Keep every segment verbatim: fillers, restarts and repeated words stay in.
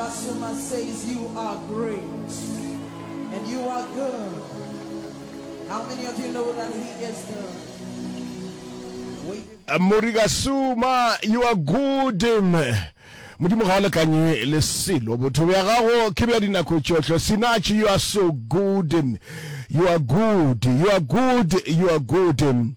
Murikasuma says you are great and you are good. How many of you know that he is good? We Murikasuma, you are good. Modimo ga o lekanye le selo. Botho bja gago ke bja dinako tšohle. Sinach, you are so good. You are good. You are good. You are good.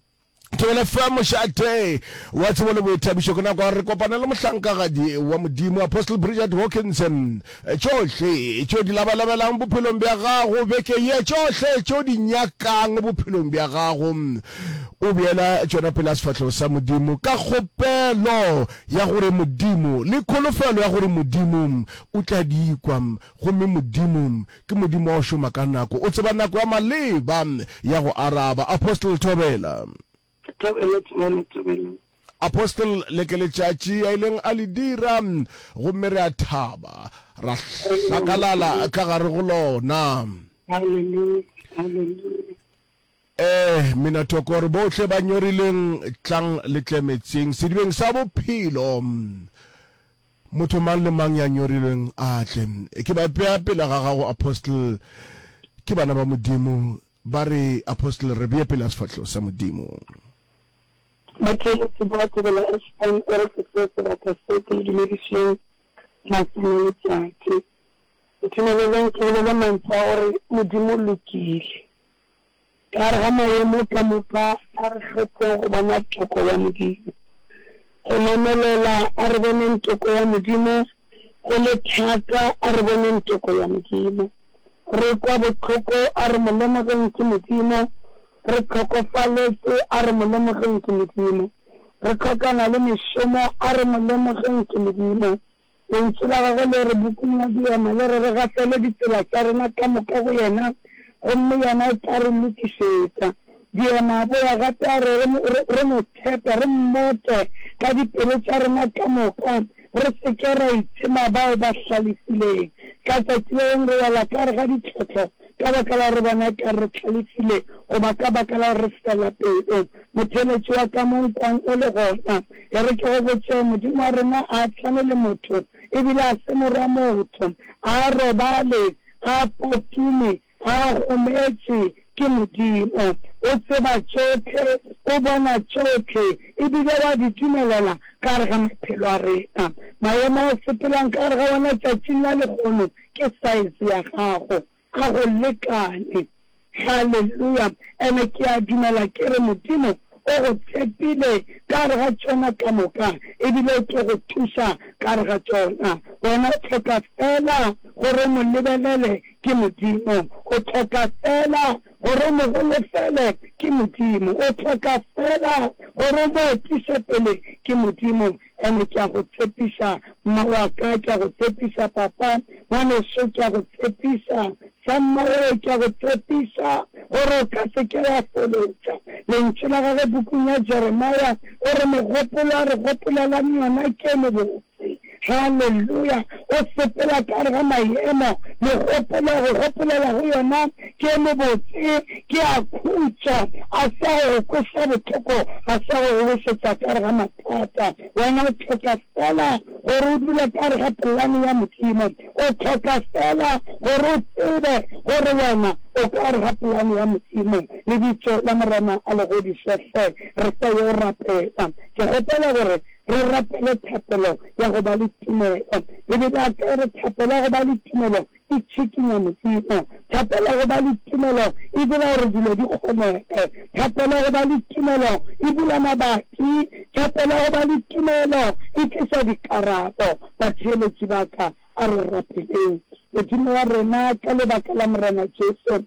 Thobela F M, mošate wa tsebo le boithabišo. Ke nako ya gore re kopane le mohlankagadi wa Modimo, Apostle Bridget Hawkinson. Tšohle tšeo di labalabelang bophelong bja gago beke ye, tšohle tšeo di nyakang bophelong bja gago, o beela tšona pele a sefahlego sa Modimo ka kgopelo ya gore Modimo, le kholofelo ya gore Modimo o tla di kwa. Gomme Modimo ke Modimo wa go šoma ka nako, o tseba nako ya maleba ya go araba. Apostle Thobela. Thobela, Thobela, Thobela. Apostle, le ke letšatši a ileng a le dira, gomme re a thaba, ra hlakalala ka gare go lona. Hallelujah, hallelujah. Eh, mina thoko gore bohle ba nyorileng, tlang le tle metseng, sedibeng sa bophelo. Motho mang le mang ya nyorilweng a tle. Ke ba bea pele ga gago, Apostle, ke bana ba Modimo. Ba re, Apostle, re bee pele ga sefahlego sa Modimo. Batheeletši ba Thobela F M, e re ke tsee sebaka se ke le dumedišeng masome letšatši. Ntumeleleng ke bolele mantšu a gore Modimo o lokile. Ka gare ga maemo ka moka a re kgetheng go bona toko ya Modimo. Go namelela a re boneng toko ya Modimo, go le thata a re boneng toko ya Modimo. Re kwa bohloko a re mo lemogeng ke Modimo, re hlokofaletše a re mo lemogeng ke Modimo. Re hlokana le mešomo a re mo lemogeng ke Modimo. Lentšu la gagwe le re bukung ya Diema le re re gafele ditsela tša rena ka moka go yena, gomme yena o tla re lokišetša. Diema a boya gape a re re, re mo tshepe, re mmote ka dipelo tša rena ka moka, re se ke ra itshema bao ba hlalefileng. Ka tšatši le lengwe re wela ka gare ga ditlhohlo ka baka la gore re bona ekare re hlalefile goba ka baka la gore re fela pelo. Motheeletši wa ka mo nkwang o le gona, e re ke go botše, Modimo wa rena a a tshwane le motho, e bile a se morwa motho. A a robale, a a potume, a a gometše, ke Modimo. O tseba tšohle, o bona tšohle, e bile wa di dumelela ka gare ga maphelo a rena. Maemo a o sepelang ka gare ga ona tšatšing la lehono ke saese ya gago. A go lekane. Haleluya! Ene ke a dumela ke re Modimo o go tshepile ka gare ga tšona ka moka, ebile o tlo go thuša ka gare ga tšona. Wena o hloka feela gore o mo lebelele, ke Modimo. O hloka feela gore o mo holofele, ke Modimo. O hloka feela gore o mo etiše pele, ke Modimo. Ene ke a go tshepiša, mma wa ka, ke a go tshepiša, papa, ngwaneso, ke a go tshepiša, sammago, ke a go tshepiša, gore o ka se ke wa folotša. Lentšu la gagwe pukung ya Jeremia, o re, Megopolo a re gopolelang yona ke e mebotse. Haleluya! O sepela ka gare ga maemo, megopolo a go gopolela go yona ke e mebotse, ke a khutšo, a sa go go kweša bohloko, a sa go go wišetša ka gare ga mathata. Wena o hloka feela gore o dule ka gare ga polane ya Modimo. O hloka feela gore o tsebe gore wena o ka gare ga polane ya Modimo. Lebitso la Morena a le godišwe hle. Re sa yo rapela. Ke kgopela gore re rapele thapelo ya go ba le tumelo. Bibele ya ka e re thapelo ya go ba le tumelo e tšhikinya Modimo. Thapelo ya go ba le tumelo e dira gore dilo di kgonege. Thapelo ya go ba le tumelo e bula mabati. Thapelo ya go ba le tumelo e tliša dikarabo. Batheeletši ba ka, a re rapeleng Modimo wa rena ka lebaka la Morena Jesu.